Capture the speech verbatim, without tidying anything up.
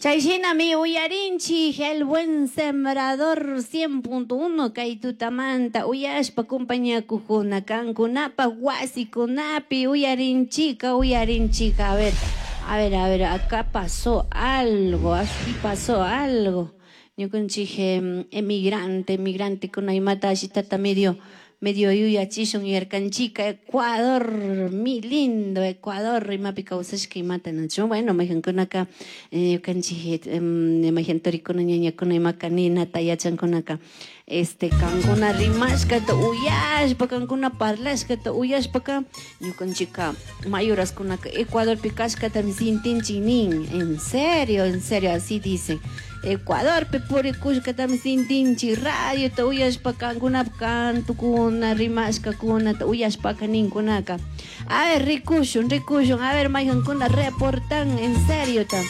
Chay shinami uyarinchik El Buen Sembrador cien punto uno kay tutamanta uyashpa compañakujuna kankunapaj wasikunapi uyarinchika uyarinchika. A ver, a ver, a ver, acá pasó algo, aquí pasó algo. Ñukanchik emigrante, emigrante kuna imata ashitata medio medio yuyachishun yuyarkanchika Ecuador, mi lindo Ecuador, imapi kawsashka imata nachu. Bueno, maykankunaka ñukanchik mayjan turikuna ñañakuna imaka ninata yachankunaka este kankuna rimashkata uyashpa, kankuna parlashkata uyashpaka ñukanchika mayuraskunaka Ecuadorpi kashkatami sintinchik nin. En serio, en serio, así dicen. Ecuadorpi purikushkatami sintinchik radiota uyashpa kankunapa kantukuna rimashkakunata uyashpaka ninkunaka. A ver, rikushun, rikushun, a ver, maykankuna reportan en serio ta.